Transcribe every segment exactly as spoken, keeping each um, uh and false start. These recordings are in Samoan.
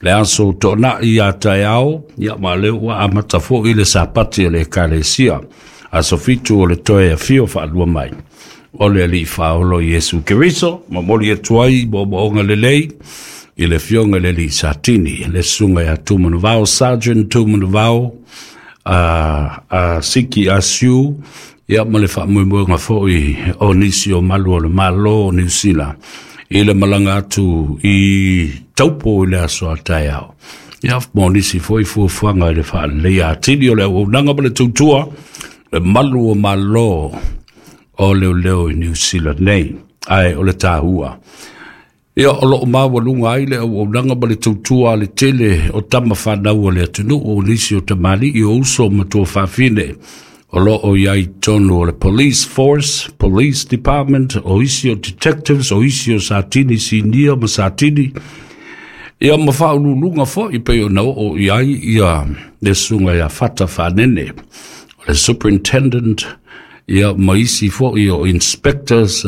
Le aso to'ona'i ia taeao, ia ma lea ua amata fo'i le Sapati a le Ekalesia, aso fitu o le toe afio fa'alua mai o le Ali'i Faaolo Iesu Keriso. Momoli atu ai mo'omo'oga lelei i le afioga i le alii Satini, le susuga ia Tumanuvao, Sergeant Tumanuvao a a Siki Asiu, ia ma le fa'amoemoega fo'i o nisi o malu o le Mālō o Niusila i le malaga atu i Taupo i le aso a taeao, ia mo nisi fo'i fuafuaga i le fa'aleleia atili o le auaunaga ma le tautua le malu o Mālō o leoleo i Niusila nei. Ae o le tāua ia o lo'o maualuga ai le auaunaga ma le tautua a le tele o tama fanau o le atunuu, o nisi o tamali'i, o uso ma tuafafine o lo'o i ai tonu o le police force, police department, o isi o detectives, o isi o satini sinia ma satini, ia ma faaululuga fo'i pei ona oo i ai ia le susuga ia Fata Fanene o le superintendent, ia ma isi fo'i o inspectors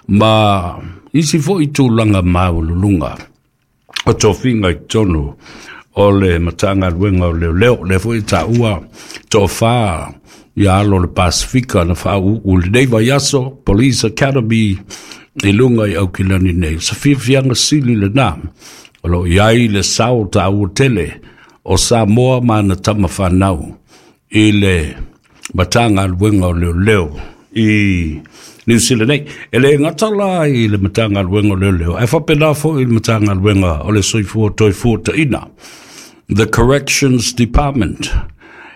ma isi fo'i tulaga maualuluga o tofiga i totonu o le Matagaluega o Leoleo. Lea foi ta'ua to'afā ia alo o le Pasifika na faauu lenei vaiaso Police Academy i luga i Aukilani nei. Se fiafiaga sili lenā o loo i ai le sao tāua tele o Samoa ma ana tama fanau i le Matagaluega o Leoleo i Niu Sila nei. E le gata la i le Matagaluega o Leoleo, ae faapena fo'i i le Matagaluega o le Soifua Toefuata'ina, the Corrections Department.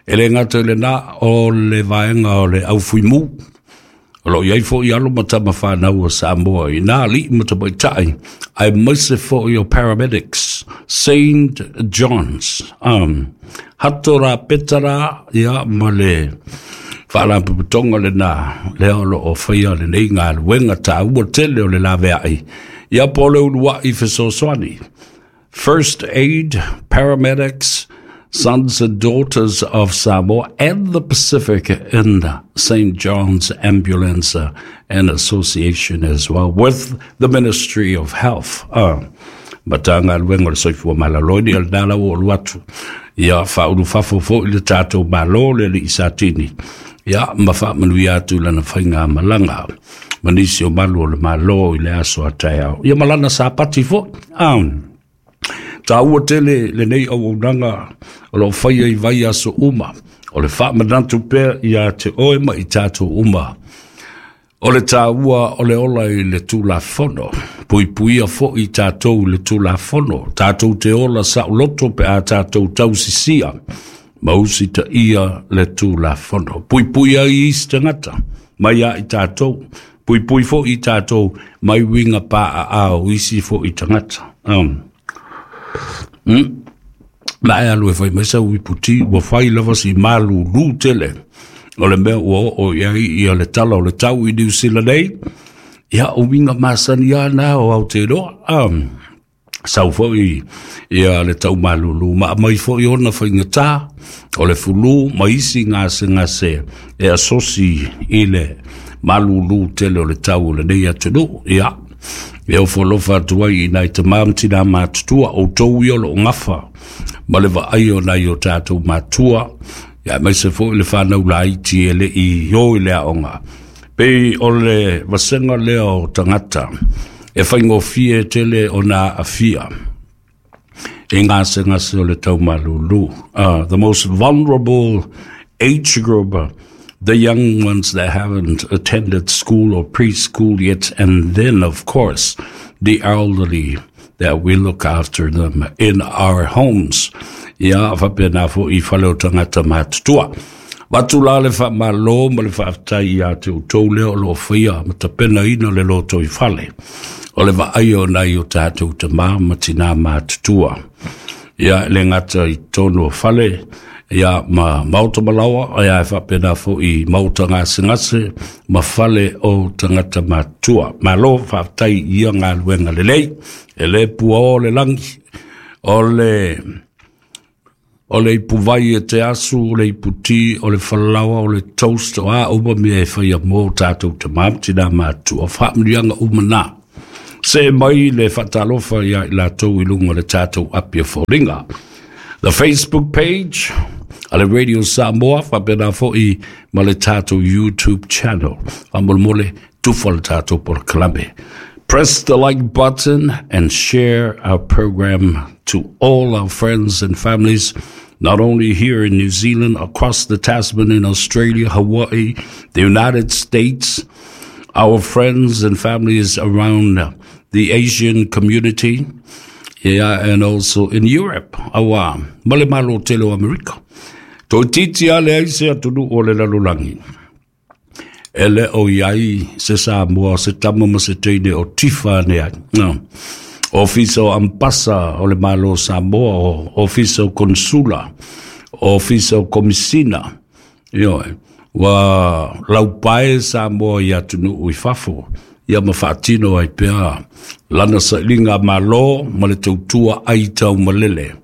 E le gata i lenā, o le vaega o le aufuimū o loo i ai fo'i alo ma tama fanau o Samoa i nā ali'i ma tamaita'i, aemaise fo'i o paramedics, Saint Johns, um, Hato Rapetara, ia ma le faalapotopotoga lenā lea o loo faia lenei galuega tāua tele o le lavea'i, ia po le ulua'i fesoasoani, first aid, paramedics, sons and daughters of Samoa and the Pacific in Saint John's Ambulance and Association as well with the Ministry of Health. Uh, Matagaluega o le Soifua Maloloina o lenā lau o alu atu ia faaulufafo fo'i le tatou Mālō le alii Satini, ia ma faamanuia atu lana faiga malaga ma nisi o malu o le Mālō i le aso a taeao, ia ma lana Sapati fo'i. Um, tāua tele lenei auaunaga o loo faia i vai aso uma o le faamanatu pea ia te oe ma i tatou uma o le tāua o le ola i le Tulafono. Puipuia fo'i tatou i le Tulafono, tatou te ola sa'uloto pe a tatou tausisia ma usita'ia le Tulafono. Puipui ai isi tagata mai a i tatou, puipui fo'i tatou mai uiga pa'a o isi fo'i tagata. um. mm. Ma e alu e fai mai sau iputi ua fai lava si malūlū tele o le mea ua oo i ai ia le tala o le tau i Niu Sila nei. Ia o uiga masani ana o Aoteroa, um, sau fo'i ia le tau malūlū ma mai fo'i ona faigata o le fulu ma isi gasegase e asosi i le malūlū tele o le tau o lenei atunuu. Ia e ofo atu ai i nai tamā ma tinā matutua outou ia o loo gafa ma le vaai o nai o tatou matua, ia aemaise fo'i le fanau laiti e le'i o i le aoga, pei o le vasega lea o tagata e faigofie tele ona aafia i gasegase o le taumalūlū, uh, the most vulnerable age group, the young ones that haven't attended school or preschool yet, and then, of course, the elderly that we look after them in our homes. Ia faapena fo'i fale o tagata matutua. Vatu la le faamālō ma le faafetai ia te outou lea o loo faia ma tapenaina le loto i fale o le vaai o nai o tatou tamā ma tinā matutua. Ia le gata i tonu o fale, ia ma maota malaoa, ia e faapena fo'i maota gasegase ma fale o tagata matua. Malo faafetai ia galuega lelei, e lē puaō le lagi o le o le ipuvai e te asu, o le iputi, o le falaoa, o le toast, o a uma mea e faia mō tatou tamā ma tinā matua. Faamanuiaga uma nā. Se mai le faatalofa ia i latou i luga o le tatou api o foliga. The Facebook page a le Radio Samoa, faapena foi ma le tatou YouTube channel. Faamolemole tufa le tatou polokalame. Press the like button and share our program to all our friends and families, not only here in New Zealand, across the Tasman in Australia, Hawaii, the United States, our friends and families around the Asian community, yeah, and also in Europe, aua ma le Malo tele o Amerika. Toeitiiti a leai se atunuu o le lalolagi e le o i ai se Samoa, se tama ma se teine o tifa ane ai. No. Ofisa o Ambasa o le Malo Samoa, o Ofisa o Konsula, Ofisa o Komisina. Ioe, ua laupae Samoa i atunuu i fafo, ia ma faatino ai pea lana sailiga malo ma le tautua ai taumalele.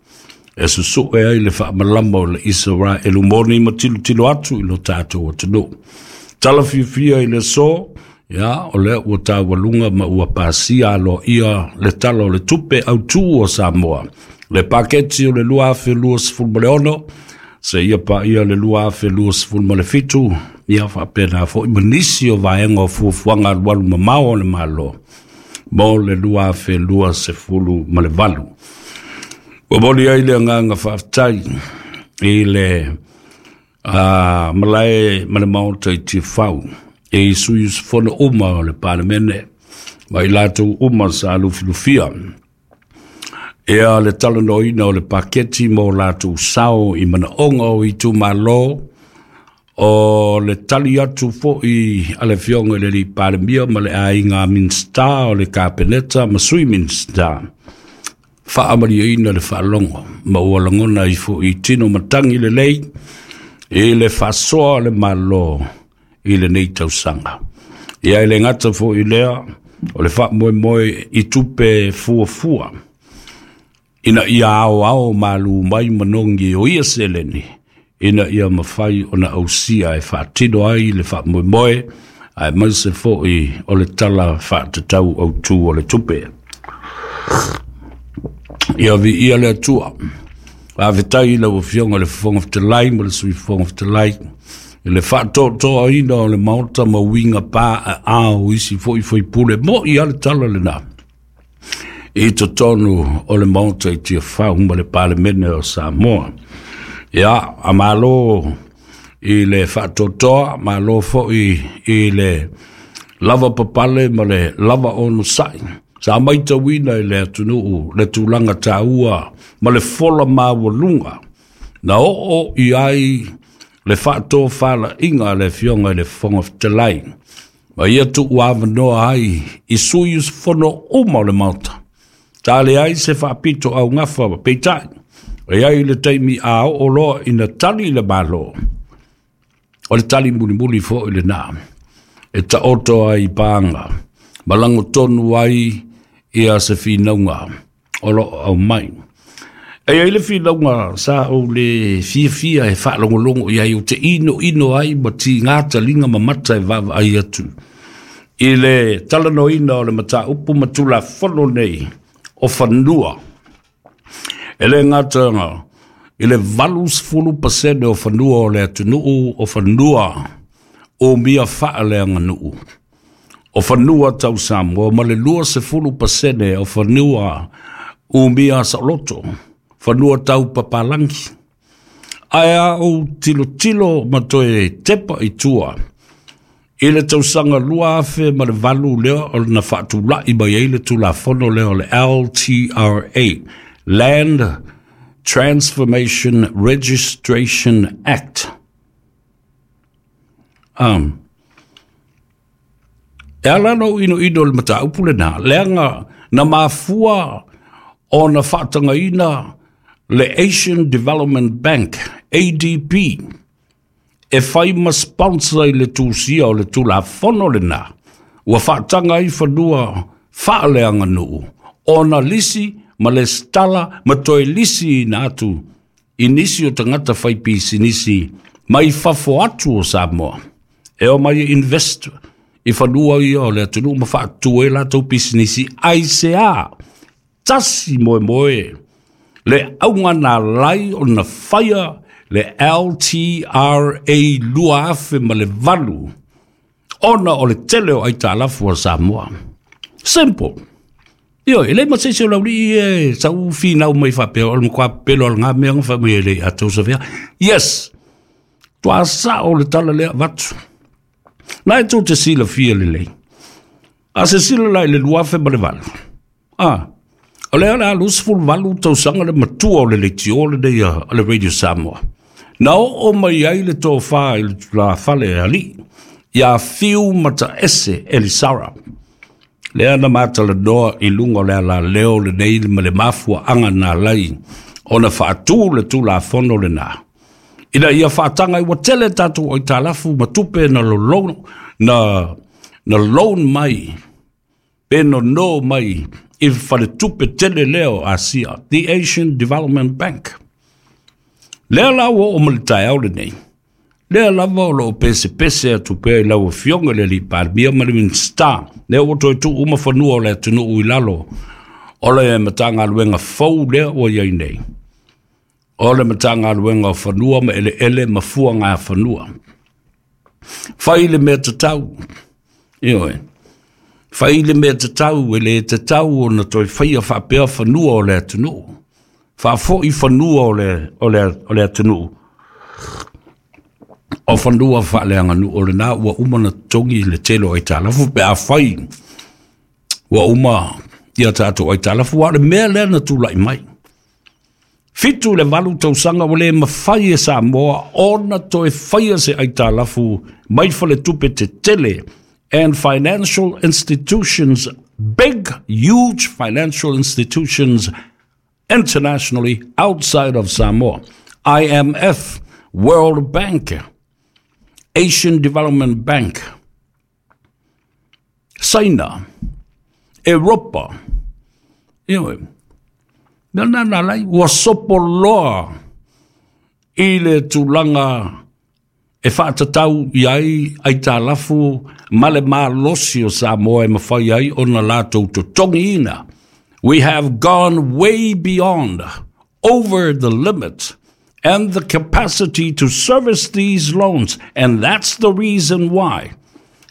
E susue ai le faamalama o le Isaraelu moni ma tilotilo atu i lo tatou atunuu. Tala fiafia i le aso, ia, o lea ua taualuga ma ua pasia aloaia le tala o le tupe autū o Samoa. Le paketi o le lua afe lua sefulu ma le ono, seia paia le lua afe lua sefulu ma le fitu, ia faapena foi ma nisi o vaega o fuafuaga alualu mamao o le Malo mo le lua afe lua sefulu ma le valu. Ua momoli ai le agaga faafetai i le uh, malae ma le maota i Tiafau e sui usufono uma o le Palemene ma i latou uma sa lufilufia ea le talanoaina o le paketi mo latou sao i manaoga o itumalo o le tali atu foi a le afioga i le alii Palemia ma le aiga Minisita o le Kapeneta ma sui Minisita faamalieina le faalogo ma ua lagona ai foi tino matagi lelei i le faasoa o le Malo i lenei tausaga. Ia e le gata foi lea o le faamoemoe i tupe fuafua ina ia aoao malu mai manogi o ia seleni ina ia mafai ona ausia e faatino ai le faamoemoe aemaise foi o le tala faatatau autū o le tupe. Ia viia le Atua. Faafetai i lau Afioga i le Fofoga Fetalai ma le Sui Fofoga Fetalai i le faatoatoaina o le maota ma uiga pa aao isi foi faipule mo'i a le tala lena i totonu o le maota i Tiafau ma le Palemene o Samoa. Ia, a malo i le faatoatoa, malo foi i le lava papale ma le lava onosai. Sa maitauina i le atunuu le tulaga taua ma le fola maualuga na oo i ai le faatofalaiga a le Afioga i le Fofoga Fetalai ma ia tuuavanoa ai i sui usufono uma o le maota. Sa leai se faapito augafa peitai, e ai le taimi a oo loa ina tali le Malo, o le tali mulimuli foi lena e taoto ai i paga ma lagotonu ai ia se finauga o loo aumai. E ai le finauga sa ou le fiafia e faalogologo i ai o te ino ino ai ma tigā taliga ma mata e vaavaai atu i le talanoaina o le mataupu ma Tulafono nei o fanua. E le gata i le valu sefulu pasene o fanua o le atunuu o fanua umia faaleaganuu o fanua tau Samoa ma le lua sefulu pasene o fanua umia saoloto, fanua tau papalangi. Ae a ou tilotilo ma toe tepa i tua i le tausaga lua afe ma le valu lea o na faatulai mai ai le Tulafono lea o le L T R A, Land Transformation Registration Act. Um, e ala ona ou inoino le mataupu lena, leaga na mafua ona faatagaina le Asian Development Bank, A D B, e fai ma sponsor i le tusia o le Tulafono lena, ua faataga ai fanua faaleaganuu, ona lisi ma le stala ma toe lisi ina atu i nisi o tagata fai pisinisi mai fafo atu o Samoa. E o mai invest I fanua ia o le atunuu ma faatu ai latou pisinisi ai se a tasi moemoe le auga na alai ona faia le L T R A lua afe ma le valu ona o le tele o aitalafu a Samoa. Simple. Io, e le ma se se o lauli e sau finau mai faapea o le matua pelo al ngā mea nga wha e le atou sawhea. Yes! Tua sa o le tala lea vatu. Na e tō te sila fia le lei. A se sila lai le luafe ma le valu. Ah, o lea le alu sefulu valu tausaga le matua o le leitio le nei a le Radio Samoa. Na o o mai ai le tōwha i le la fale e ali. Ia fiu mata ese Elisara. Lea na matala noa i lunga o le ala leo le nei ma le mafua anga nā lai o na whaatū le tūla fono le nā. Ina ia whaatanga i watele tātou o i tālafu matupe na lo na, na loan mai, pe no no mai i whale tupe tele leo Asia, the Asian Development Bank. Lea la ua o malitae au le nei. Lea lava o loo pese pese atu pea i lau afioga le alii Palemia ma le Minista. Lea ua toe tuu uma fanua o le atunuu i lalo o le Matagaluega fou lea ua iai nei. O le Matagaluega o fanua ma eleele ma fuaga fanua. Fai le mea tatau. Ioe. Fai le mea tatau e le tatau ona toe faia faapea fanua o le atunuu. Faafoi fanua o le, o le, o le atunuu. O fanua faaleaganuu o lena ua uma na togi le tele o aitalafu pe afai ua uma ia tatou aitalafu a o le mea lea na tulai mai. Fitu le valu tausaga ua le mafai e Samoa ona toe faia se aitalafu mai faletupe tetele and financial institutions, big, huge financial institutions internationally outside of Samoa. I M F, World Bank, Asian Development Bank, China, Europa. Ioe, mea nā nā lai, ua sopo loa i le tulaga e whaatatau i ai aitalafu ma le malosi o Samoa e mawhai ai ona lātou totogiina. We have gone way beyond, over the limit, and the capacity to service these loans. And that's the reason why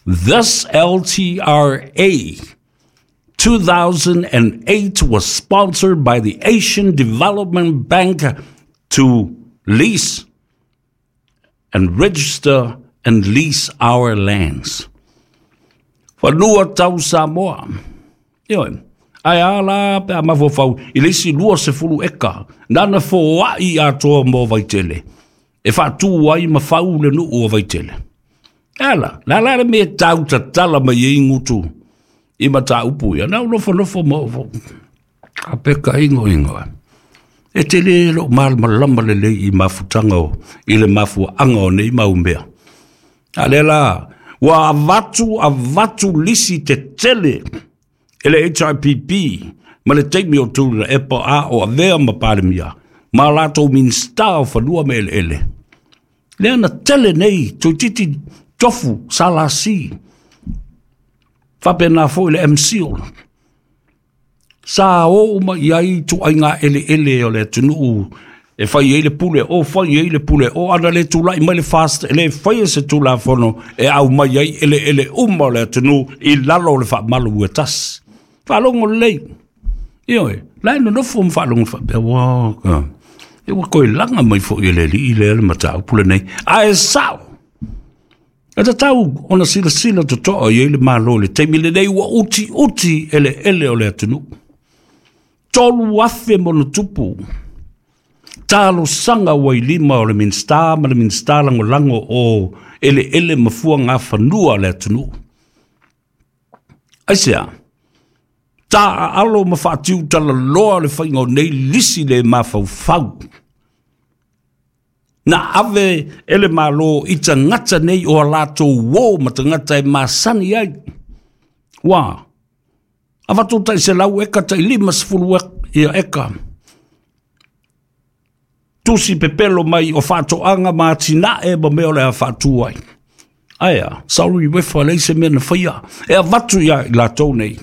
this L T R A two thousand eight was sponsored by the Asian Development Bank to lease and register and lease our lands. Whanua tau Samoa. Ioe. Ai ala pe a mafofau i le isi lua sefulu eka. Nana fōai atoa mō Vaitele. E whaatū ai ma whau le nuu o Vaitele. Ala, la la le me tau tatala mai e ingutu i mata upu ia. Nau nofo nofo mo. A peka ingo ingo. E te le lo malmalama le le i mafutanga o, i le mafua anga o nei maumea. A le la, ua avatu avatu lisi te tele e le H I P P ma le teimi o tūrina e pa a o avea ma Palemia ma lātou minista o fanua me ele ele. Lea na tele nei tuititi tofu salasi whapena fo i le M C O. Sa o uma i ai tu ai ngā ele ele o le atunuu e whai e le pule o whai e le pule o ana le tūlai mai le fast e le whai e se tūla fono e au mai ai ele ele uma o le atunuu i lalo o le whaamalu ua tasi. Whaalongo lei. Ioe, lai no nofo mwhaalongo whapea waka. E ua koe langa mai fo i le li i le ele matau pule nei. A e sao! E tatau ona sila sila totoa i le malo le teimi le nei ua uti uti ele ele o le atunuu. Tolu afe mono tupu. Talo sanga ua i lima o le minsta ma le minsta lango lango o ele ele mafua ngā whanua le atunuu. Aisea, tā alo ma whaatiu tala loa le whainga o nei lisi le mawhauwhau. Na ave ele malo i tangata nei o a lātou wō ma tangata e masani ai. Wā, awatu tai se lau eka tai lima sefulu ia eka. Tusi pepelo mai o whaatoanga ma tinae ma mea o le a whaatua ai. Ae a, saulu i wefa leai se mea na faia. E avatu ia i latou nei.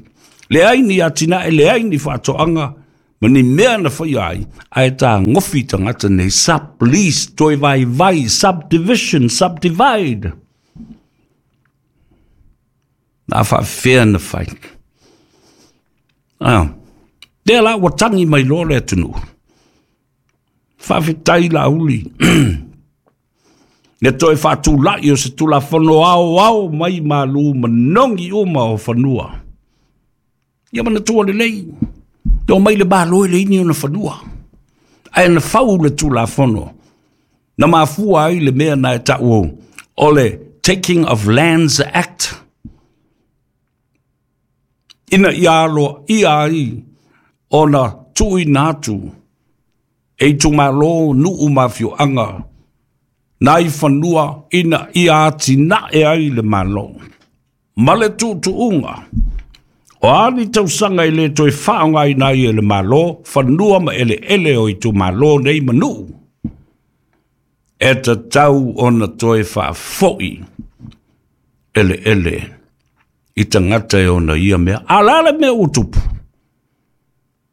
Leai ni atinae, leai ni faatoaga ma ni mea na faia ai, ae tagofi tagata nei, sublease, toe vaivai, subdivision, subdivide. Na faafefea na fai. Ah, lea la ua tagi mai loa le atunuu. Faafetai Laauli. Le toe faatulai o se Tulafono aoao mai malu manogi uma o fanua. Ia manatua lelei, le omai le Malo e leai ni ona fanua. Ae na fau le Tulafono, na mafua ai le mea na e ta'u o le Taking of Lands Act. Ina ia aloaia ai ona tuuina atu e itumalo, nuu ma afioaga nai fanua ina ia atinae ai le Malo. Ma le tuutuuga, o a ni tausaga e le toe faaaogaina ai e le Malo fanua ma eleele o itumalo nei ma nuu, e tatau ona toe faafo'i eleele i tagata e ona ia mea. A o le a le mea ua tupu?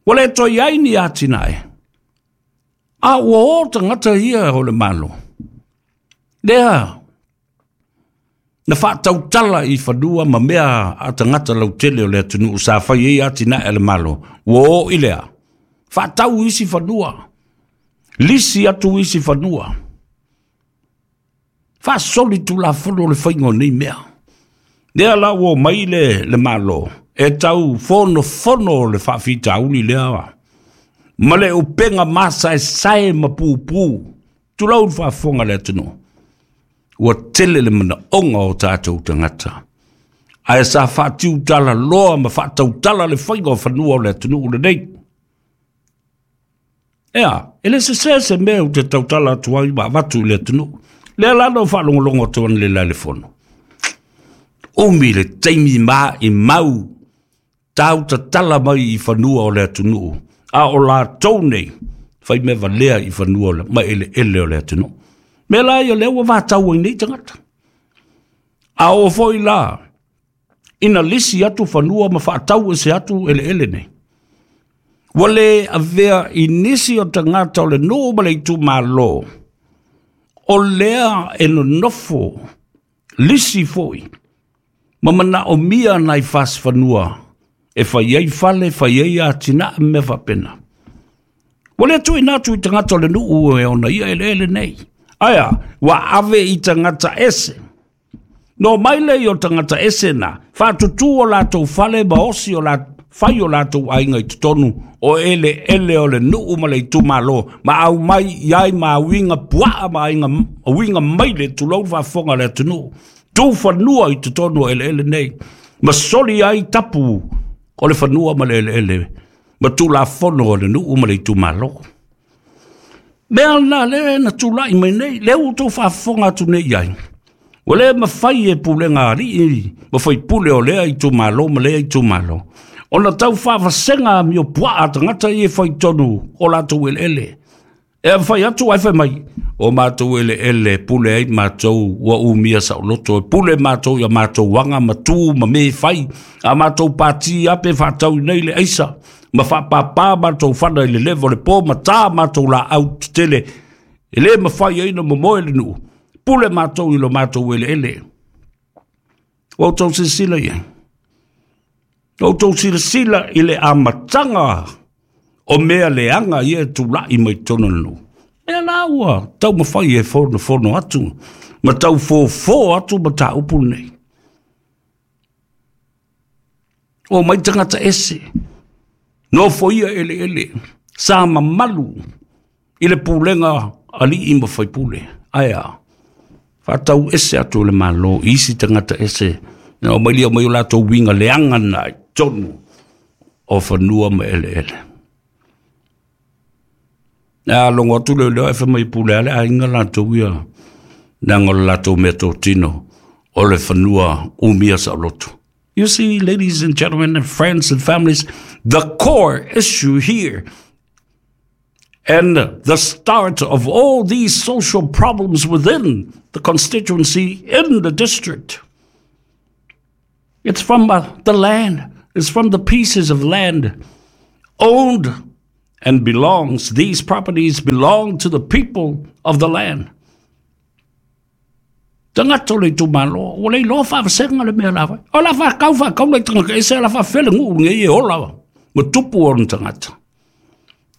Ua le toe i ai ni atinae, a ua o tagata ia o le Malo. Lea na faatautala i fanua ma mea a tagata lautele o le atunuu sa fai ai atinae a le Malo, ua o i lea, faatau isi fanua, lisi atu isi fanua. Faasoli Tulafono o le faiga o nei mea. Lea la ua omai le, le Malo e tau fonofono le faafitauli lea ma le upega masaesae ma pupu. Tulou le faafofoga a le atunuu. Ua tele le manaoga o tatou tagata. Ae sa faatiutala loa ma faatautala le faiga o fanua o le atunuu lenei. Ea, e le sesē se mea ou te tautala atu ai ma avatu i le atunuu. Lea la na ou faalogologo atu analeila i le fono. Umi le taimi maimau tau tatala mai i fanua o le atunuu, a o latou nei fai mea valea i fanua ma eleele o le atunuu. Mea la ia lea ua vatau ai nei tagata. A oo foi la ina lisi atu fanua ma faatau ese atu eleele nei, ua le avea i nisi o tagata o le nuu ma le itumalo o lea e nonofo lisi foi ma manaomia nai fasi fanua e fai ai fale, fai ai atinae ma mea faapena. Ua le tuuina atu i tagata o le nuu e ona ia eleele nei. Ae a, ua ave i tagata ese. No mai lea o tagata ese na, faatutū o latou fale ma osi o la, fai o latou aiga i totonu o eleele o le nuu ma le itumalo, ma aumai i ai ma uiga puaa ma aiga, uiga maile, tulou le faafofoga a le atunuu. Tu fanua i totonu o eleele nei, ma soli ai tapu o le fanua ma le eleele, ma Tulafono o le nuu ma le itumalo. Mea lena lea na tulai mai nei, lea ua outou faafofoga atu nei i ai. Ua le mafai e pulega a alii ma faipule o lea itumalo ma lea itumalo ona tau faavasega amio puaa a tagata ia e fai tonu o latou eleele. E fai atu ae fai mai, o matou eleele pule ai matou ua umia saoloto, e pule matou ia matou aga ma tu ma me fai, a matou pati ape faatau nei le aisa, ma faapāpā matou fana i le leva o le po, ma tā matou laau tetele, e le mafai ai na momoe le nuu, pule matou i lo matou eleele. Ua outou silasila i ai. Ua outou silasila i le amataga o mea leaga ia e tulai mai totonu o le nuu. Mea la ua taumafai e fonofono atu ma tau fofo atu mataupu lenei. O mai tagata ese, nofoia eleele, sa mamalu i le pulega alii ma faipule. Ae a, faatau ese atu le Malo i isi tagata ese, na o mai lia mai o latou uiga leaga na i totonu o fanua ma eleele. A logo atu leo leo e fai mai pule a le aiga latou ia, leaga o le latou mea totino o le fanua umia saoloto. You see, ladies and gentlemen and friends and families, the core issue here And the start of all these social problems within the constituency in the district. It's from uh, the land. It's from the pieces of land owned and belongs. These properties belong to the people of the land. Tagata o le itumalo, ua le iloa faavasegaga le mea la fai. O la faakau faakau le tagata ese la faafele guu nei e ola ma tupu ona tagata.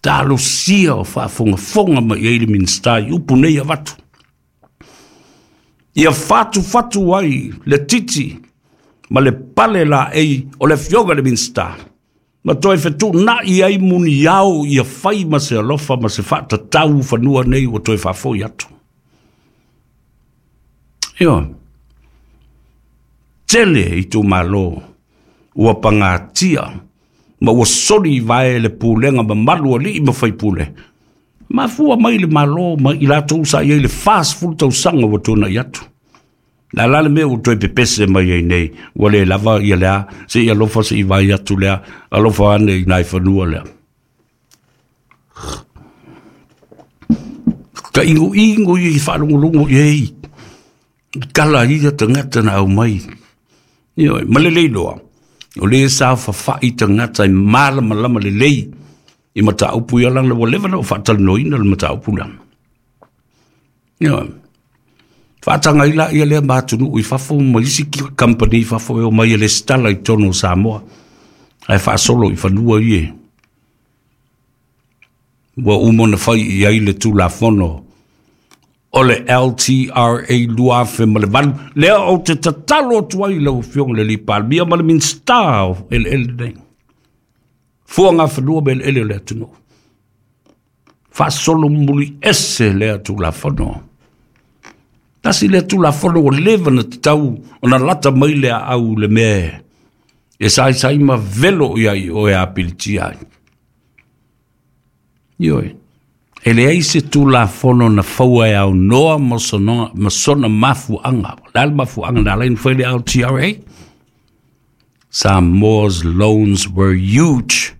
Talosia o faafogafoga mai ai le Minisita i upu nei avatu. Ia fatufatu ai le titi ma le pale laei o le afioga i le Minisita. Ma toe fetuunai ai muniao ia fai ma se alofa ma se faatatau fanua nei ua toe faafoi atu. Ioe, tele itumalo ua pagatia ma ua soli i vae le pulega mamalu a alii ma faipule. Mafua mai le Malo ma i latou sa i ai le fasefulu tausaga ua tuanai atu. La la le mea ua toe pepese mai ai nei, ua le lava ia lea, seia alofa se i vai atu lea, alofa ane i nai fanua lea. Ka ingoingo ia i faalogologo i ai, kala ia tagata na aumai. Ioe, ma lelei loa, o lē saofafai tagata e malamalama lelei i mataupu ia lana ua leva na o faatalanoaina le mataupu lea. Ioe, faataga ai laia lea ma atunuu i fafo ma isi kampani i fafo e omai e lesitala i totonu o Samoa ae faasolo i fanua ie. Ua uma ona fai i ai le Tulafono o le L T R A lua afe ma le valu, lea ou te tatalo atu ai lau Afioga i le alii Palemia ma le Minisita o eleele nei. Fuagafanua ma eleele o le atunuu. Faasolo muli ese lea Tulafono. Tasi lea Tulafono ua leva na tatau ona lata mai le aau le mea e saisai ma velo i ai o e apilitia ai. Ioe, e leai se Tulafono na faua e aunoa ma sona, ma sona mafuaaga. O le a le mafuaaga na ala ai ona fai le L T R A? Samoa's loans were huge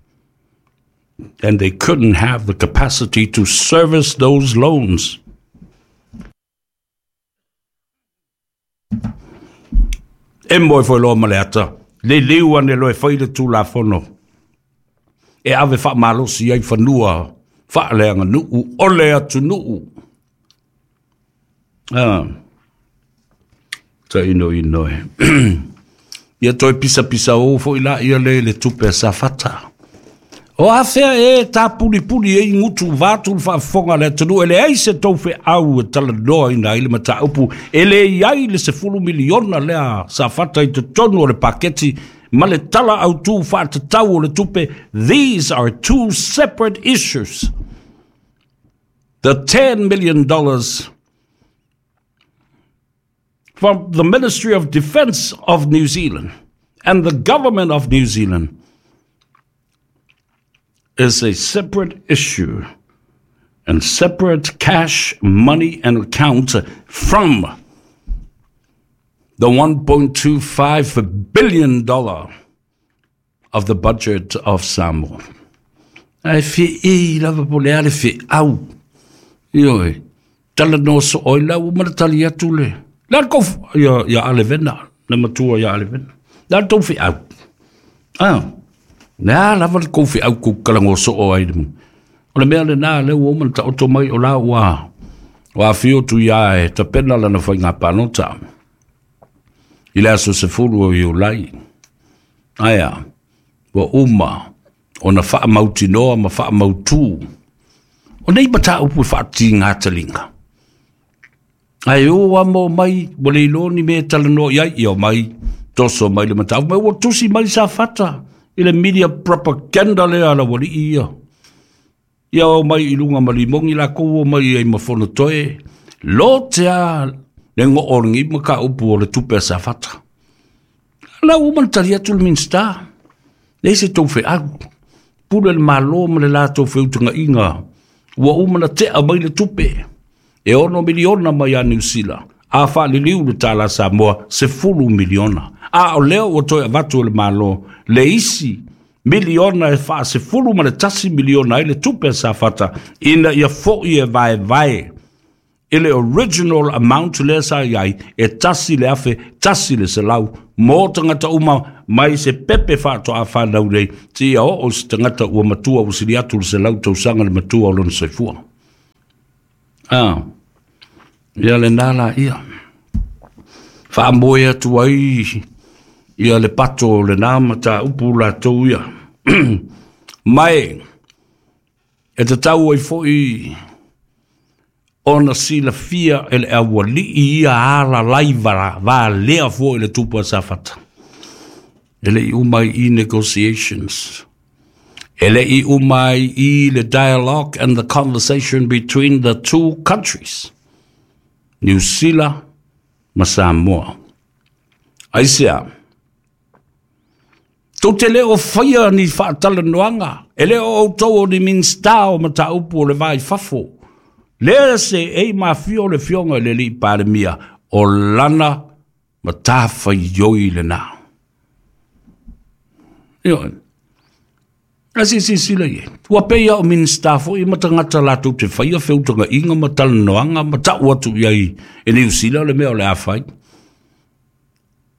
and they couldn't have the capacity to service those loans. E moe foi loa ma le ata, liliu ane loa e fai le Tulafono e ave faamalosi ai fanua faaleaganuu o le atunuu. Ah, tainoino e. Ia toe pisapisa o foi laia le le tupe a Safata. O afea e tapulipuli e gutu vatu le faafofoga a le atunuu, e leai se tou feau e talanoaina ai le mataupu, e leai ai le sefulu miliona lea Safata i totonu o le paketi ma le tala autū faatatau o le tupe. These are two separate issues. The ten million dollars from the Ministry of Defence of New Zealand and the Government of New Zealand is a separate issue and separate cash, money and account from the one point two five billion dollars of the budget of Samoa. Ae feei lava po o le a le feau. Ioe, talanoa soo ai la ua ma le tali atu le. Le a le kou ia, ia Alevena, le matua ia Alevena. Le a le tou feau. Ah, le a lava le kou feau kou kalagoa soo ai le mu. O le mea lenā lea ua uma na taoto mai o la ua ua afio atu ia e tapena lana faiga palota i le aso sefulu o Iulai. Aea, ua uma ona faamautinoa ma faamautū. O nei mataupu e faatigataliga. Ae o a mo mai, ua le iloa ni mea e talanoa i ai, ia omai, toso mai le mataupu, ma ua tusi mai Safata i le media propaganda lea a le aualii ia. Ia omai i luga ma limogi lakou omai ai ma Fonotoe, lote a le goo o lenei mataupu o le tupe a Safata. La ua uma na tali atu le Minisita, leai se tou feau, pule le Malo ma le latou feutagaiga, ua uma na tea mai le tupe, e ono miliona mai a Niu Sila, a faaliliu le tala Samoa, sefulu miliona. A o lea ua toe avatu e le Malo le isi Miliona e faasefulu ma le tasi miliona ai le tupe a Safata ina ia fo'i e vaevae i le original amount lea sa i ai e tasi le afe tasi le selau mo tagata uma mai se pepe faatoa fanau nei seia oo se tagata ua matua ua sili atu le selau tausaga le matua o lona soifua. Ah, ia lenā laia faamoe atu ai ia le pato o lenā mataupu latou ia. Mai e tatau ai fo'i ona silafia e le auali'i ia alalai valea fo'i le tupu a Safata. E le'i uma ai i negotiations. E le'i uma ai i le dialogue and the conversation between the two countries, Niu Sila ma Samoa. Aisea? Tou te le o faia ni faatalanoaga, e le o outou o ni Minisita o mataupu o le va i fafo. Lea se ei mafio le fioga i le alii Palemia, o lana matafaioi lenā. Ioe. A silasila i ai. Ua pei lava o Minisita foi ma tagata latou te faia feutagaiga ma talanoaga ma tau atu i ai e Niu Sila le mea o le a fai.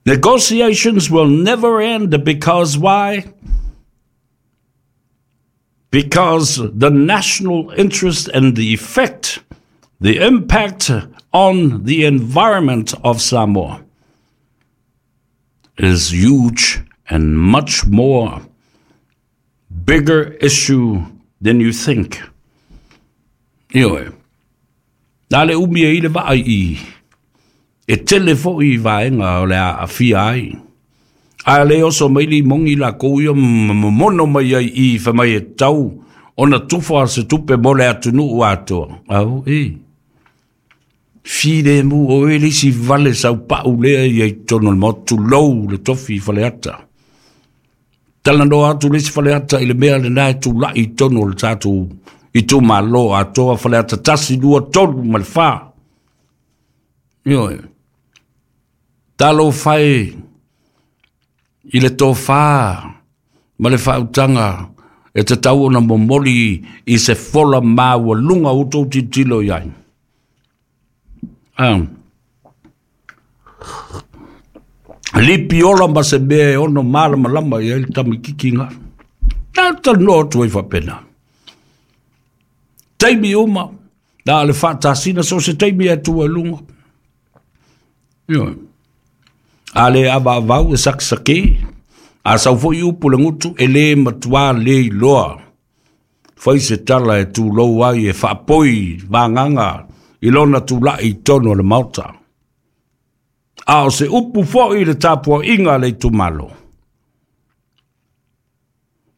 Negotiations will never end because why? Because the national interest and the effect, the impact on the environment of Samoa is huge and much more bigger issue than you think. Ioe. Na le umi e i le vaai i e tele fo'i i vaega o le a aafia ai. A le oso mai le imogi lakou ia ma momono mai ai i fai mai e tatau ona tufa se tupe mo le atunuu atoa. Au e. Filemu o e le isi vale saupau lea ia i totonu o le Maota, tulou le tofi i Faleata. Talanoa atu le isi Faleata i le mea lenā e tula'i i totonu o le tatou itumalo atoa Faleata tasi, lua, tolu ma le fa. Ioe. Talofa e i le tofa ma le faautaga e tatau ona momoli i se fola maualuga ua outou tilotilo i ai. Ah. Lipi ola ma se mea e ono malamalama i ai le tamaitiiti ga. Na talanoa atu ai faapena. Taimi uma, na o le faatasina so o se taimi e atu ai luga. Ioe. A le avaavau e sakesake, a sau foi upu le gutu, e le matuā le iloa. Fai se tala e tulou ai e faapoi vagaga i lona tula'i i totonu o le Maota. A o se upu foi i le tapuaiga a le itumalo.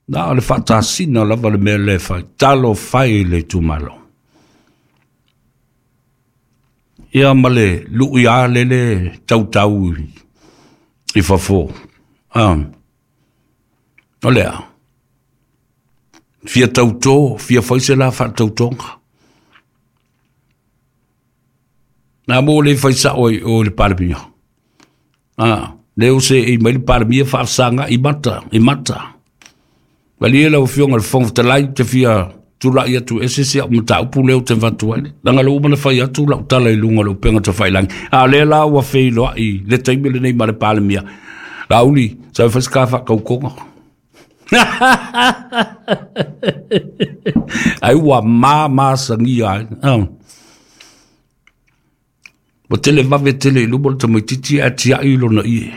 Na o le faatasina lava le mea lea e fai, talofa e i le itumalo. Ia ma le lui a lele tautau i fafo. Ah. O lea. Fia tautō, fia fai se la faatautoga. Na mo le fai sao ai o le Palemia. Ah, le o se i mai le Palemia faasaga i mata, i mata. Malie lau Afioga i le Fofoga Fetalai, ou te fia tulai atu ese si au mataupu lea ou te avatu ai. Leaga lea ua uma ona fai atu lau tala i luga o le upega tafailagi. A o lea la ua feiloai le taimi lenei ma le Palemia. Laauli, sau e fai se ka faakaukoga. Ai ua mamasagia ai. Ah. Ua tele vave tele i luma o le tamaitiiti ae tiai lona ie.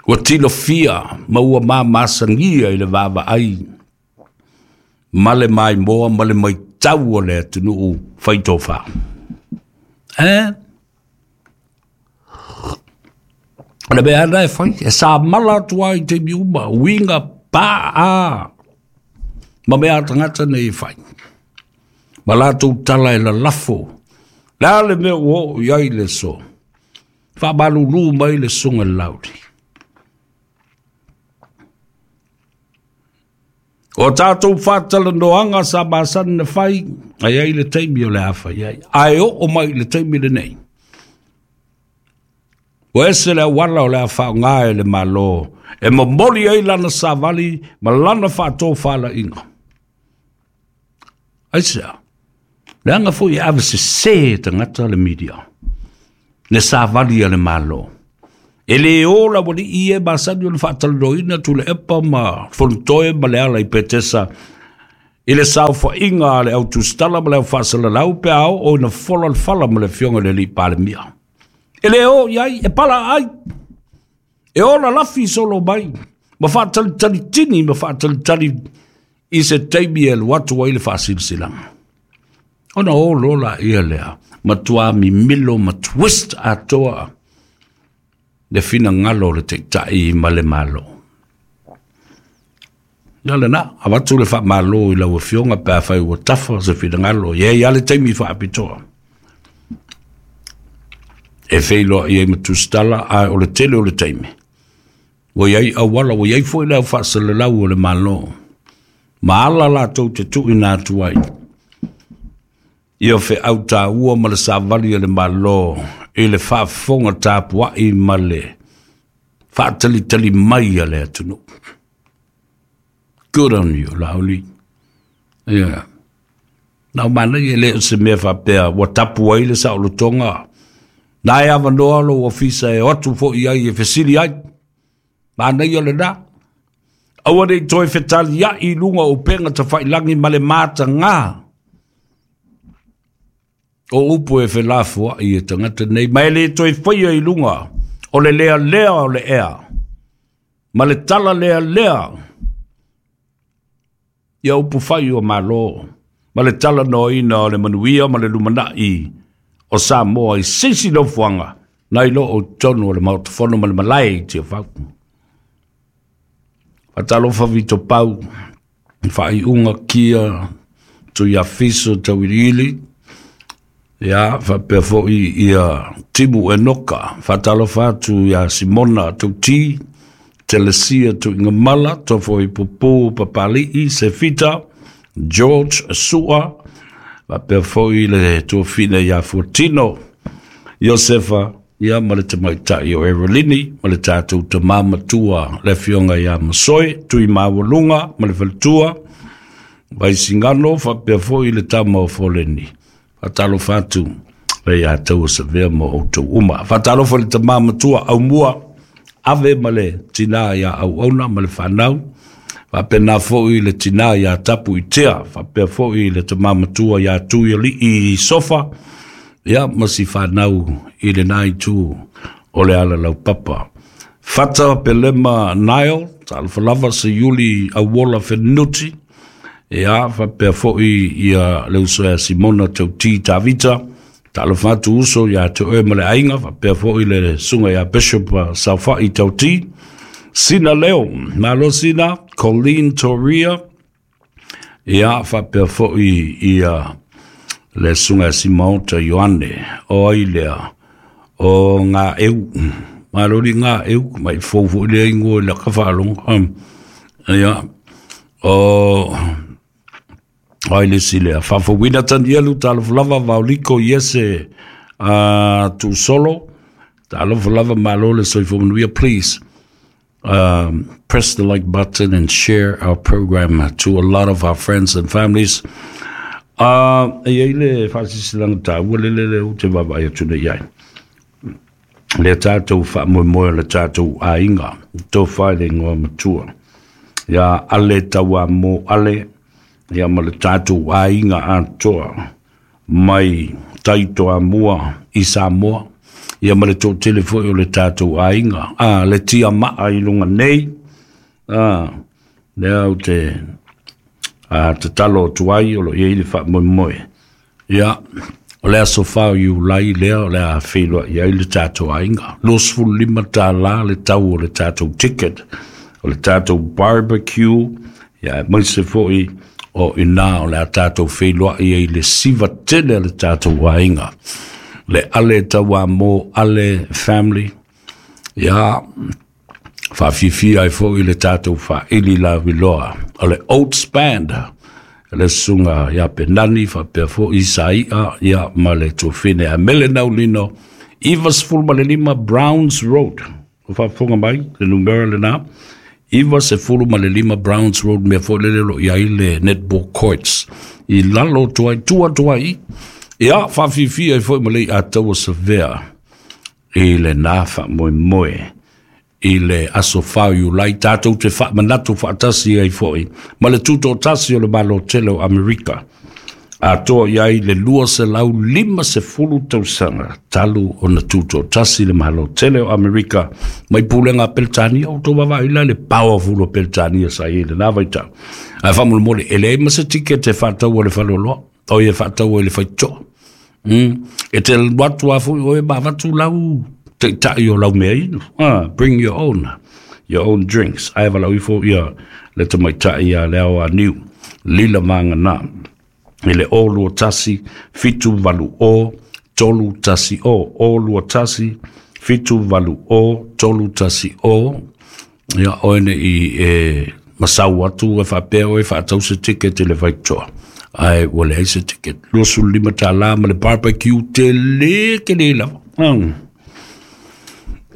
Ua tilofia ma ua mamasagia i le vaavaai ma le maimoa ma le maitau o le atunuu faitofa. Eh? O le mea lena e fai, e samala atu ai i taimi uma, uiga paa ma mea a tagata nei e fai. Ma latou tala e lalafo. Le a le mea ua oo i ai le aso? Faamalulu mai le susuga i le Laauli. O tatou faatalanoaga sa masani na fai, a i ai le taimi o le a fai ai. Ae oo mai i le taimi lenei, Ua ese le auala o le a faaaogā e le Mālō e momoli ai lana savali ma lana faatofalaiga. Aisea? Leaga foi e avesesē e tagata le media le savali a le Mālō. E lē o le aualii e masani ona faatalanoaina Tuilaepa ma Fonotoe ma Leala i Petesa i le saofaiga a le au tusitala ma le au faasalalau pe a oo ina fola le fala ma le afioga i le alii Palemia. E lē o i ai, e pala ai, e ola lafi solo mai, ma faatalitalitini ma faatalitali i se taimi e alu atu ai le faasilasilaga. Ona o loa laia lea, matuā mimilo ma twist atoa le finagalo o le Taitai ma le Malo. Ia lena, avatu le faamalo i lau Afioga pe afai ua tafa se finagalo, e i ai lava le taimi faapitoa e feiloai ai ma tusitala, ae o le tele o le taimi ua i ai auala, ua i ai foi le au faasalalau o le Malo ma ala latou te tuuina atu ai ia feau taua ma le savali a le Malo i le faafofoga tapuai ma le faatalitali mai a le atunuu. Good on you, Laauli. Yeah. Na o manaia, e le o se mea faapea ua tapu ai le saolotoga. Na e avanoa lou ofisa e o atu foi ai e fesili ai. Manaia lena. Aua ne i toe fetaliai i luga o upega tafailagi ma le matagā o upu e felafoai e tagata nei, ma e le toe faia i luga o le lealea o le ea ma le tala lealea ia upu fai o Malo ma le talanoaina o le manuia ma le lumanai o Samoa i se isi nofoaga nai lo o totonu o le Maota Fono ma le malae i Tiafau. Faatalofa Vito Pau, faaiuga kia Tuiafiso Tauiliili, ia faapea foi ia Timu Enoka. Faatalofa atu ia Simona Tauti, Telesia Tuigamala, Tofoi Pupu Papali'i, Sefita, George Sua, faapea foi le tuafine ia Fuatino, Iosefa, ia ma le tamaitai o Erolini, ma le tatou tamā matua le afioga ia Masoe, Tui Maualuga ma le faletua, Vaisigano, faapea foi le tama o Foleni. Faatalofa atu le ia tau Savea ma outou uma. Faatalofa le tamā matua Aumua, Ave ma le tinā ia Auauna ma le fanau, faapena foi le tinā ia Tapu Itea, faapea foi le tamā matua ia Tuialii i Sofa, ia ma si fanau i lena itu o le ala laupapa. Fata Pelema Nile, talofa lava se Iuli Auola Fenuti, ia faapea foi ia le uso ia Simona Tauti Tavita, talofa atu uso ia te oe ma le aiga, faapea foi le susuga ia Bishop Saofai Tauti, Sina Leo, malo Sina, Colleen Toria, ia faapea foi ia le susuga ia Simaota Ioane, o ai lea, o ngā eu, malo li ngā eu, mai fou foi lea ingoa i laka faalogo, ia, o ai le isi lea, Faafouina Tanielu, talofa lava Vaoliko Iese uh, Tuusolo, talofa lava, malo le soifua manuia. Please um, press the like button and share our program to a lot of our friends and families. Uh, e iai le faasilasilaga taua le lele ou te vaavaai atu nei ai. Le tatou faamoemoe o le tatou aiga, tofa i le igoa matua ia Ale Tauamo Ale, ia ma le tatou aiga atoa mai Taitoamua i Samoa, ia ma le toatele foi o le tatou aiga, a le tiamaa i luga nei, a lea ou te a tatalo atu ai o lo o i ai le faamoemoe. Ia, o le aso fa o Iulai lea o le a feiloai ai le tatou aiga. Luasefulu lima tālā le tau o le tatou ticket, o le tatou barbecue, ia aemaise foi o i ina o le a tatou feiloai ai le siva tele a le tatou aiga. Le Ale Tauamo Ale family, ia faafiafia ai foi le tatou faaili laviloa o le Oats Band, le susuga ia Penani faapea foi Isai'a, ia ma le tuafine a Mele Naulino Iva sefulu ma le lima Browns Road. O faafofoga mai le numera lenā, iva sefulu ma le lima Browns Road, mea foi lele o loo i ai le netball courts i lalo atu ai, tua atu ai ia faafiafia ai foi ma le Iataua Savea i lenā faamoemoe i le aso fa o Iulai, tatou te faamanatu faatasi ai foi ma le tutoatasi o le Malo tele o Amerika, atoa i ai le lua selau lima sefulu tausaga talu ona tutoatasi le Malo tele o Amerika mai pulega a Peretania. O tou vaavaai la le powerful o Peretania sa i ai lenā vaitau. Ae faamolemole, e leai ma se tikete e faataua i le faleoloa o ia faataua i le faitotoa. Mm. E te alu atu lava foi oe ma avatu lau taitai o lau meainu. Ah, bring your own, your own drinks. Ae valaau ifo ia le tamaitai ia le ao aniu, Lila Magana, i le o lua tasi, fitu valu o, tolu tasi o, o lua tasi, fitu valu o, tolu tasi o, ia oe ne i e masau atu e faapea oe faatau se ticket i le faitotoa. Ae ua leai se ticket. Luasefulu lima tālā ma le barbecue tele tele lava. Mm.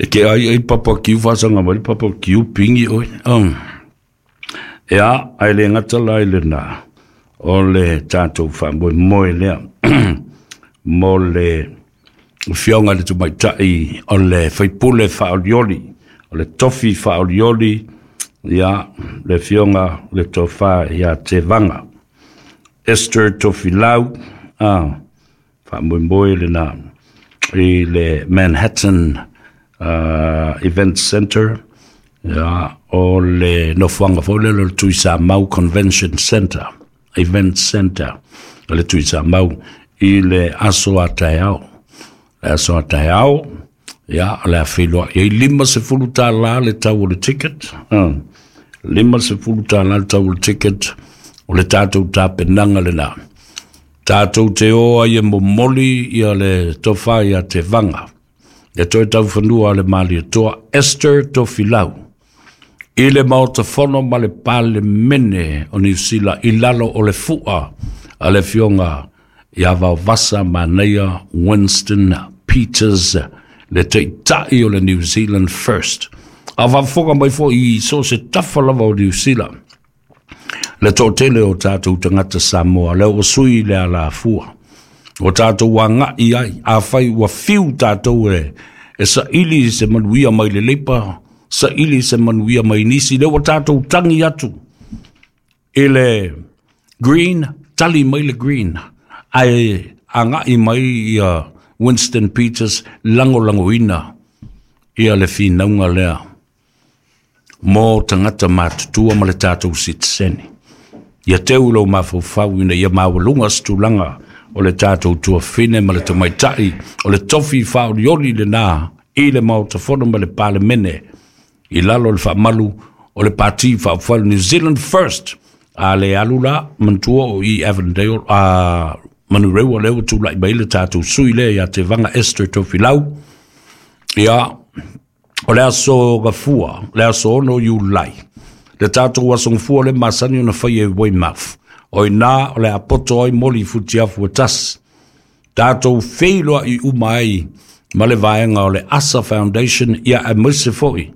E ke ai ai barbecue faasaga mai le barbecue pingi oe. Mm. Ia, ae le gata la i lenā, o le tatou faamoemoe lea mo le afioga i le tamaitai o le faipule faaolioli, o le tofi faaolioli, ia, le afioga le tofa ia Tevaga Esther Tofilau, ah, faamoemoe lenā i le Manhattan uh, Event Center, ia, o le nofoaga foi lele o le Tuisamau Convention Center, Event Center, o le Tuisamau i le aso a taeao. Le aso a taeao, ia, o le a feiloai ai lima sefulu tālā le tau o le ticket. Uh, lima sefulu tālā le tau o le ticket, o le tatou tapenaga lenā. Tatou te o ai e momoli ia le tofa ia Tevaga, le toe taufanua a le Malietoa Esther Tofilau, i le Maota Fono ma le Palemene o Niu Sila i lalo o le fua a le afioga ia Vaovasa Manaia Winston Peters, le taitai o le New Zealand First. A faafofoga mai foi i so o se tafa lava o Niu Sila le toatele o tatou tagata Samoa, lea ua sui le alafua ua tatou agai ai. Afai ua fiu tatou e e saili se manuia mai le Leipa, saili se manuia mai nisi, lea ua tatou tagi atu i le Green, tali mai le Green, ae agai mai ia Winston Peters lagolagoina ia le finauga lea mo tagata matutua ma le tatou sitiseni. Ia teu lou mafaufau ina ia maualuga se tulaga o le tatou tuafine ma le tamaitai o le tofi faaolioli lenā i le Maota Fono ma le Palemene i lalo o le faamalu o le Pati Faaupufai New Zealand First. A le alu la, manatua o i Avondale a Manurewa lea ua tulai mai le tatou sui lea ia Tevaga Esther Tofilau. Ia, o le aso Gafua, le aso ono Iulai, le tatou aso Gafua le masani ona fai e Weymouth. O ina o le apoto ai moli futiafu e tasi. Tatou feiloai uma ai ma le vaega o le Asa Foundation, ia aemaise foi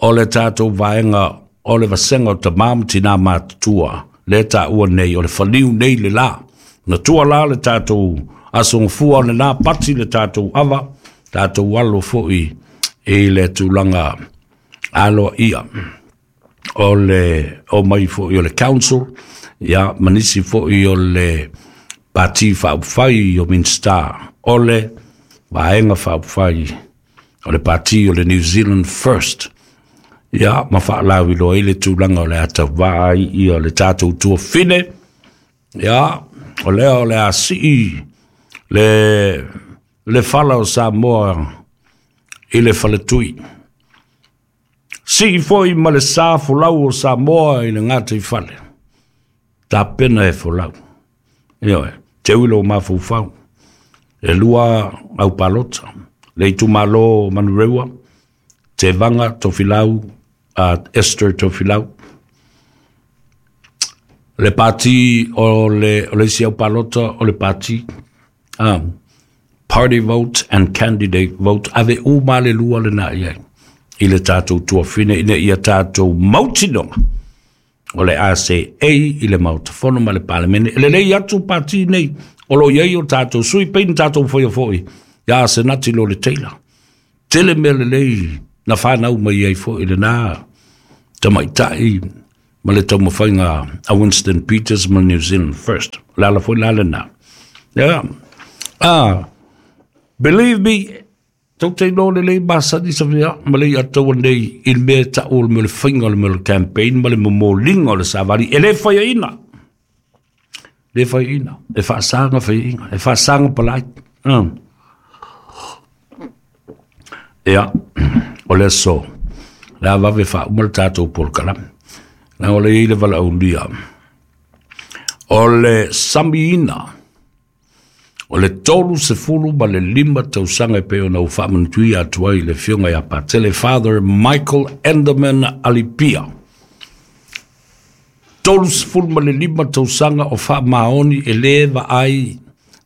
o le tatou vaega o le vasega o tamā ma tinā matutua le taua nei o le faliu nei le la. Na tua la le tatou aso Gafua o lenā pati le tatou ava, tatou alo foi i le tulaga aloaia o le o mai foi o le council, ia, ma nisi foi o le Pati Faaupufai o Minisita o le Vaega Faaupufai o le Pati o le New Zealand First, ia, ma faalauiloa ai le tulaga o le atauvaa ai ia le tatou tuafine, ia, o lea o le a sii le le fala o Samoa i le faletui. Sii foi ma le sa folau o Samoa i le gataifale. Tapena e folau. Ioe, teu i lou mafaufau. E lua au palota. Le itumalo o Manurewa, Tevaga Tofilau, uh, Esther Tofilau. Le pati o le, o le isi au palota o le pati, um, Party vote and candidate vote, ave uma le lua le na iai. I le tātou tuafine ina ia tātou mautinoga o le A C A i le mautafono ma le palemene. E lelei atu pati nei o lo iai o tātou sui peini tātou whaia foi ia senati lo le teila. Tele mea lelei na whanau mai ai foi le nā tamaitai ma le taumafaiga a Winston Peters ma New Zealand First. Le ala foi la le nā. Yeah. Ah, believe me, tau te no le lei masani sa vea, ma lei ataua nei i le mea tau o le mea le whainga o le mea le campaign, ma le momolinga o le savali, e le whaia ina. Le whaia ina. E whaasanga whaia ina. E whaasanga palai. Mm. Ia, o le so, le avave wha uma le tātou polokalame. Na o le i le vala aulia. O le samiina, o le tolu se fulu ma le lima tausaga e pei ona ua faamanatuia atu ai le fioga ia Patele Father Michael Enderman Alipia. Tolu se fulu ma le lima tausaga o faamaoni e lē vaai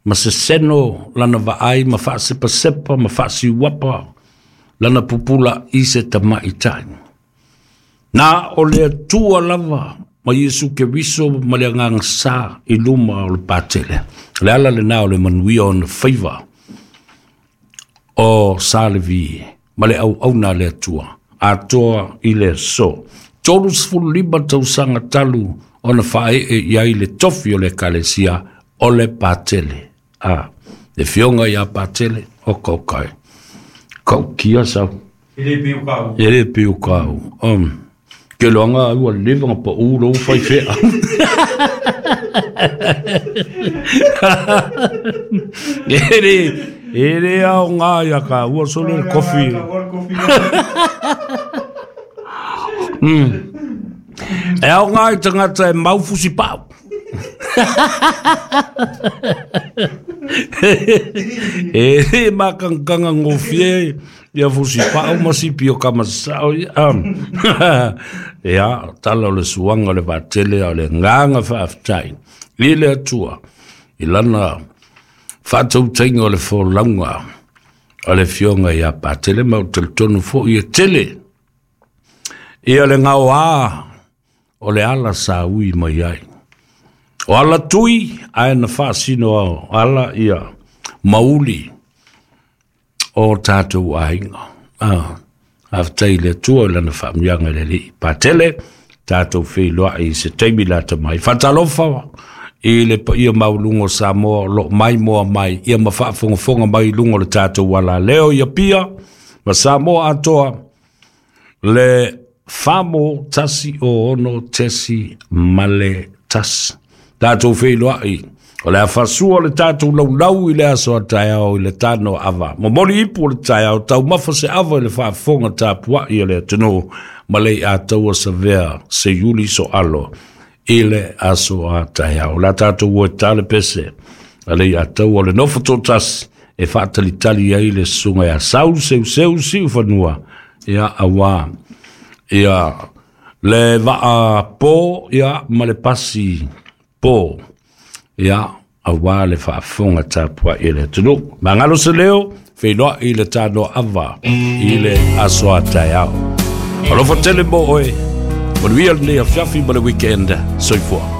ma seseno lana vaai ma faasepasepa ma faasiuapa lana pupula i se tamaʻitai. Na o le Atua lava ma Iesu Keriso ma le agaga sa i luma o le Patele. Le ala lenā o le manuia ona faiva o Salevi ma le auauna a le Atua atoa i le aso. Tolu sefulu lima tausaga talu ona faaee i ai le tofi o le ekalesia o le Patele. A, le fioga iā Patele o kaukai. Kaukia sau. E le piu kau. E le piu kau. Um, ke loanga ua leva nga pa u lo fai fea. E le, e le au ngā ia ka ua solo le kofi. Mm. E au ngā i tangata e maufusi pau. E le makangkanga ngofie ia fusi pau ma sipi o kamasao ia. Ia, tala o le suanga o le vatele o le nganga faafetai i le Atua i lana faatautaiga o le folauga o le fioga ia Patele ma o talitonu foʻi e tele ia le gaoā o le ala sa ui mai ai. O ala tui ae na faasino ao ala ia mauli o tātou aiga. Ah, afetai le Atua i lana faamanuiaga i le Alii Patele, tātou feiloai i se taimi lata mai. Faatalofa i le paia maualuga o Samoa o loo mai moa mai ia ma faafogafoga mai i luga o le tātou alaleo ia pia ma Samoa atoa le famo tasi o ono tesi male tasi. Tātou feiloai o le afasua o le tātou laulau i le aso a taeao i le tano ava. Momoli ipu o le taeao taumafa se ava i le faafofoga tapuai o le atunuu ma le ataua savea se iuli so alo i le aso a taeao. La tātou ua e tale pese a le ataua o le nofo tōtasi e faatalitali ai le susuga ia sau seuseu siufanua ia auā ia le vaa pō ia ma le pasi pō ia auā le faafofoga tapuai e le atunuu. Magalo se leo feiloai le tanoa ava i le aso a taeao. Alofa tele mo oe, manuia lenei afiafi ma le weekend. Soifua.